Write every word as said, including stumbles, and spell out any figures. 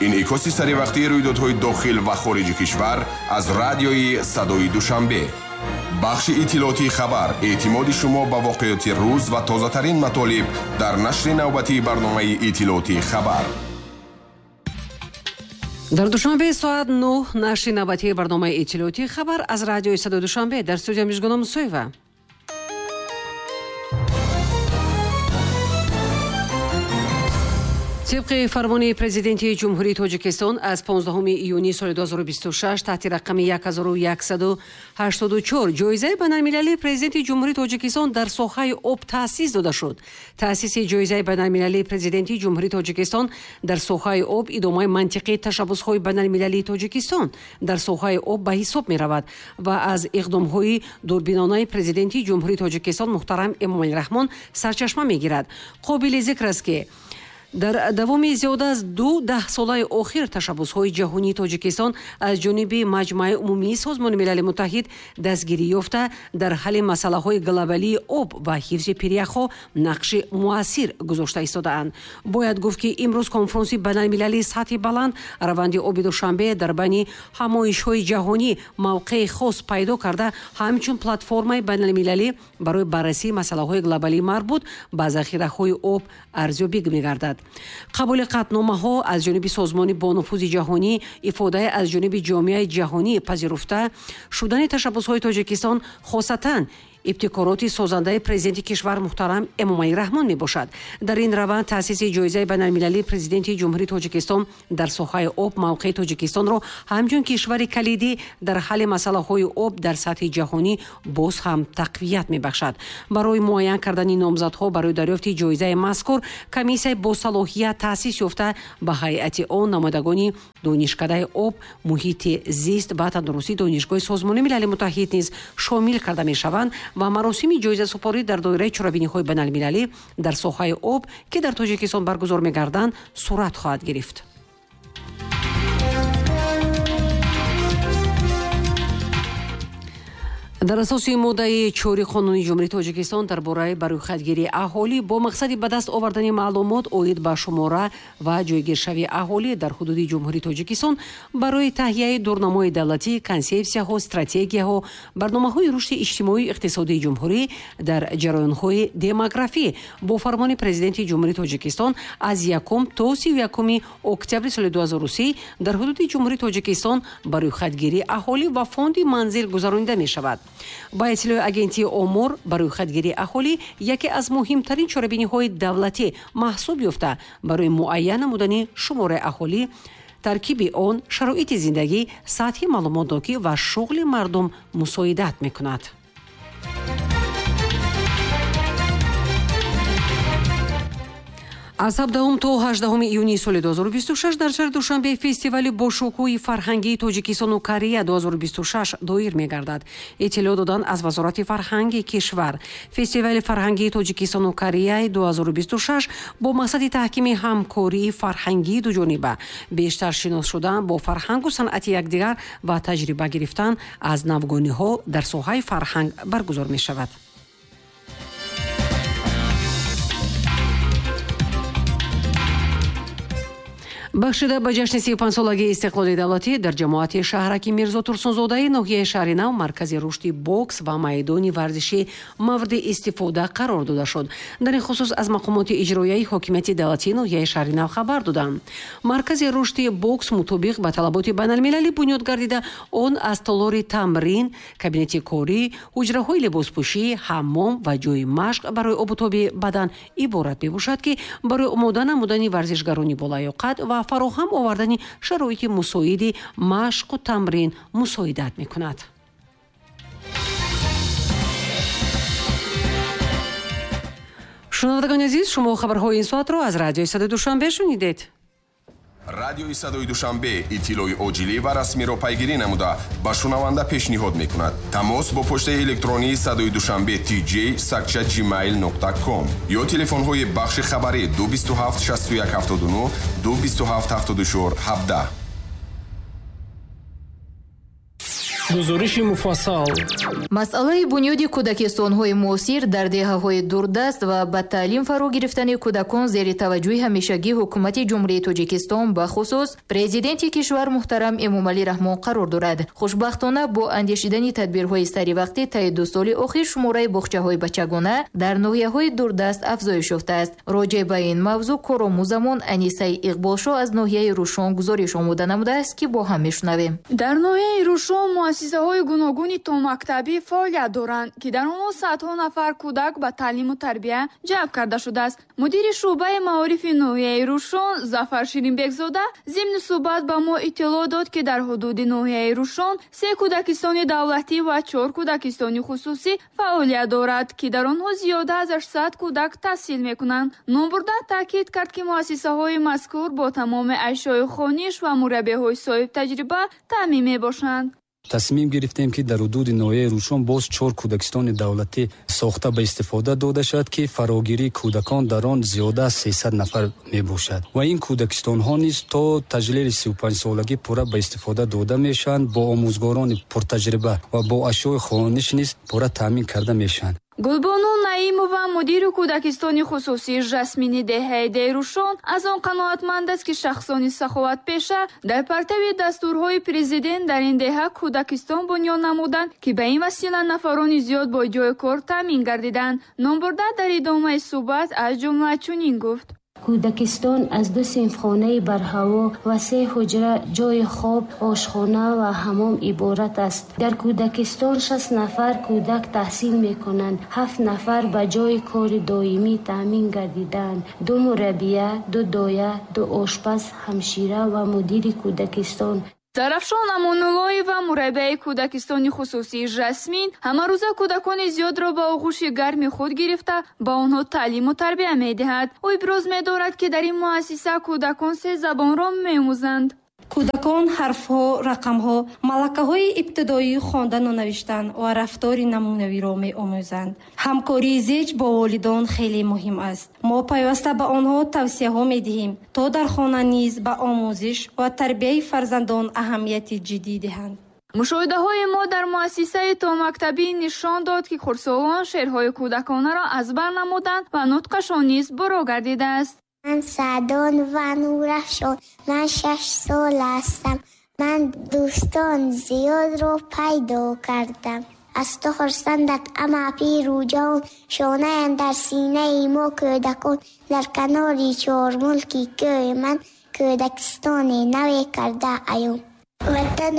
Инъикоси саривақтии рӯйдодҳои дохил ва хориҷи кишвар аз радиои Садои Душанбе. Бахши иттилоотии хабар, эътимоди шумо ба воқеоти рӯз ва тозатарин матолиб дар нашри навбатии барномаи иттилоотии хабар. Дар Душанбе соат нӯҳ нашри навбатии барномаи иттилоотии хабар аз радиои Садои Душанбе. Дар студия Мижгона Мусоева. Тибқи фармони президенти Ҷумҳурии Тоҷикистон аз понздаҳуми июни соли ду ҳазору бисту шаш таҳти рақами як ҳазору яксаду ҳаштоду чор ҷоизаи байналмилалии президенти Ҷумҳурии Тоҷикистон дар соҳаи об таъсис дода шуд. Таъсиси ҷоизаи байналмилалии президенти Ҷумҳурии Тоҷикистон дар соҳаи об идомаи мантиқии ташаббусҳои байналмилалии Тоҷикистон дар соҳаи об ба ҳисоб меравад ва аз иқдомҳои дурбинонаи президенти Ҷумҳурии Тоҷикистон муҳтарам Эмомалӣ Раҳмон сарчашма мегирад. Қобили зикр аст, ки дар давоми зиёда аз ду даҳсолаи охир ташаббусҳои ҷаҳонии Тоҷикистон аз ҷониби Маҷмааи умумии Созмони Милали Муттаҳид дастгирӣ ёфта, дар ҳалли масъалаҳои глобалии об ва ҳифзи пиряхҳо нақши муассир гузошта истодаанд. Бояд гуфт, ки имрӯз конфронси байналмилалии сатҳи баланд раванди оби Душанбе дар байни ҳамоишҳои ҷаҳонӣ мавқеи хос пайдо карда, ҳамчун платформаи байналмилалӣ барои баррасии масъалаҳои глобалии марбут ба захираҳои об арзёбӣ мегардад. Қабули қатъномаҳо аз ҷониби созмони бонуфузи ҷаҳонӣ, ифодаи аз ҷониби ҷомеаи ҷаҳонӣ пазируфта шудани ташаббусҳои Тоҷикистон, хосатан ибтикороти созандаи президенти кишвар муҳтарам Эмомалӣ Раҳмон мебошад. Дар ин раванд таъсиси ҷоизаи байналмилалии президенти Ҷумҳурии Тоҷикистон дар соҳаи об мавқеи Тоҷикистонро ҳамчун кишвари калидӣ дар ҳалли масъалаҳои об дар сатҳи ҷаҳонӣ боз ҳам тақвият мебахшад. Барои муайян кардани номзадҳо барои дарёфти ҷоизаи мазкур комиссияи босалоҳият таъсис ёфта, ба ҳайати он намояндагони донишкадаи об, муҳити зист ва тандурустии Донишгоҳи Созмони Милали Муттаҳид низ шомил карда мешаванд ва маросими ҷоизасупорӣ дар доираи чорабиниҳои байналмилалӣ дар соҳаи об, ки дар Тоҷикистон баргузор мегарданд, сурат хоҳад гирифт. Дар асоси моддаи чори Қонуни Ҷумҳурии Тоҷикистон дар бораи барӯйхатгирии аҳолӣ бо мақсади ба даст овардани маълумот оид ба шумора ва ҷойгиршавии аҳолӣ дар ҳудуди Ҷумҳурии Тоҷикистон барои таҳияи дурнамои давлатӣ, консепсияҳо, стратегияҳо, барномаҳои рушди иҷтимоию иқтисодии ҷумҳурӣ дар ҷараёнҳои демографӣ бо фармони президенти Ҷумҳурии Тоҷикистон аз якум то сию якуми октябри соли ду ҳазору се дар ҳудуди Ҷумҳурии Тоҷикистон барӯйхатгирии аҳолӣ ва фонди манзил гузаронида мешавад. Ба иттилои агентии омор, барӯйхатгирии аҳолӣ яке аз муҳимтарин чорабиниҳои давлатӣ маҳсуб ёфта, барои муайян намудани шумораи аҳолӣ, таркиби он, шароити зиндагӣ, сатҳи маълумотнокӣ ва шуғли мардум мусоидат мекунад. Аз ҳабдаҳум то ҳаждаҳуми июни соли ду ҳазору бисту шаш дар шаҳри Душанбе фестивали бошукӯҳи фарҳангии Тоҷикистону Корея ду ҳазору бисту шаш доир мегардад. Иттилоъ доданд аз Вазорати фарҳанги кишвар. Фестивали фарҳангии Тоҷикистону Кореяи ду ҳазору бисту шаш бо мақсади таҳкими ҳамкории фарҳангии дуҷониба, бештар шинос шудан бо фарҳангу санъати якдигар ва таҷриба гирифтан аз навгониҳо дар соҳаи фарҳанг баргузор мешавад. Бахшида ба ҷашни сию панҷсолагии истиқлоли давлатӣ дар ҷамоати шаҳраки Мирзо Турсунзодаи ноҳияи Шаҳри Нав маркази рушди бокс ва майдони варзишӣ мавриди истифода қарор дода шуд. Дар ин хусус аз мақомоти иҷроияи ҳокимияти давлатии ноҳияи Шаҳри Нав хабар доданд. Маркази рушди бокс мутобиқ ба талаботи байналмилалӣ бунёд гардида, он аз толори тамрин, кабинети корӣ, ҳуҷраҳои либоспӯшӣ, ҳаммом ва ҷои машқ барои обутоби бадан иборат мебошад, ки барои омода намудани варзишгарони болаёқат ва фароҳам овардани шароити мусоиди машқу тамрин мусоидат мекунад. Шунавандагони азиз, шумо хабарҳои ин соатро аз радиои Садои Душанбе шунидед. Радиои Садои Душанбе иттилои оҷилӣ ва расмиро пайгирӣ намуда ба шунаванда пешниҳод мекунад. Тамос бо почтаи электронии Садои Душанбе tj сакча gmail нуқта ком ё телефонҳои бахши хабарӣ ду бисту ҳафт шасту як ҳафтоду нӯҳ, ду бисту ҳафт ҳафтоду чор ҳабдаҳ. Гузориши муфассал. Масъалаи бунёди кӯдакистонҳои муосир дар деҳаҳои дурдаст ва ба таълим фаро гирифтани кӯдакон зери таваҷҷӯҳи ҳамешагии ҳукумати Ҷумҳурии Тоҷикистон, бахусус президенти кишвар муҳтарам Эмомалӣ Раҳмон қарор дорад. Хушбахтона, бо андешидани тадбирҳои саривақтӣ таи ду соли охир шумораи боғчаҳои бачагона дар ноҳияҳои дурдаст афзоиш ёфтааст. Роҷеъ ба ин мавзӯъ коромӯзамон Анисаи Иқболшоҳ аз ноҳияи Рӯшон гузориш омода намудааст, ки бо ҳам мешунавем. Дар ноҳияи Рӯшон муассисаҳои гуногуни томактабӣ фаъолият доранд, ки дар онҳо садҳо нафар кӯдак ба таълиму тарбия ҷалб карда шудааст. Мудири шӯъбаи маорифи ноҳияи Рӯшон Зафар Ширинбекзода зимни суҳбат ба мо иттилоъ дод, ки дар ҳудуди ноҳияи Рӯшон се кӯдакистони давлатӣ ва чор кӯдакистони хусусӣ фаъолият дорад, ки дар онҳо зиёда аз ҳаштсад кӯдак таҳсил мекунанд. Номбурда таъкид кард, ки муассисаҳои мазкур бо тамоми ашёи хониш ва мураббиҳои соҳибтаҷриба таъмин мебошанд. Тасмим гирифтем, ки дар ҳудуди ноҳияи Рӯшон боз чор кӯдакистони давлатӣ сохта ба истифода дода шавад, ки фарогирии кӯдакон дар он зиёда аз сесад нафар мебошад ва ин кӯдакистонҳо низ то таҷлили сию панҷсолагӣ пурра ба истифода дода мешаванд, бо омӯзгорони пуртаҷриба ва бо ашёи хониш низ пурра таъмин карда мешаванд. Гулбону Наимова, мудири кӯдакистони хусусии Жасмини деҳаи Дейрӯшон, аз он қаноатманд аст, ки шахсони саховатпеша дар партави дастурҳои президент дар ин деҳа кӯдакистон бунёд намуданд, ки ба ин васила нафарони зиёд бо ҷои кор таъмин гардиданд. Номбурда дар идомаи суҳбат аз ҷумла чунин гуфт: Кӯдакистон аз ду синфхонаи барҳаво ва се ҳуҷра, ҷойи хоб, ошхона ва ҳамом иборат аст. Дар кӯдакистон шаст нафар кӯдак таҳсил мекунанд, ҳафт нафар ба ҷойи кори доимӣ таъмин гардидаанд: ду мураббия, ду доя, ду ошпаз, ҳамшира ва мудири кӯдакистон. Зарафшон Амонуллоева, мураббияи кӯдакистони хусусии Жасмин, ҳамарӯза кӯдакони зиёдро ба оғӯши гарми худ гирифта, ба онҳо таълиму тарбия медиҳад. Ӯ иброз медорад, ки дар ин муассиса кӯдакон се забонро меомӯзанд. Кӯдакон ҳарфҳо, рақамҳо, малакаҳои ибтидоии хондану навиштан ва рафтори намунавиро меомӯзанд. Ҳамкории зич бо волидон хеле муҳим аст. Мо пайваста ба онҳо тавсияҳо медиҳем, то дар хона низ ба омӯзиш ва тарбияи фарзандон аҳамияти ҷиддӣ диҳанд. Мушоҳидаҳои мо дар муассисаи томактабӣ нишон дод, ки хурдсолон шеърҳои кӯдаконаро аз бар намуданд ва нутқашон низ буро гардидааст. Ман Саъдон ва Нурафшон, ман шаш сол ҳастам. Ман дӯстон зиёдро пайдо кардам. Аз ту хурсандат ама пиру ҷавон, шонаям дар синаи мо кӯдакон. Дар канори чормулки кӯи ман кӯдакистони наве карда аён. Ватан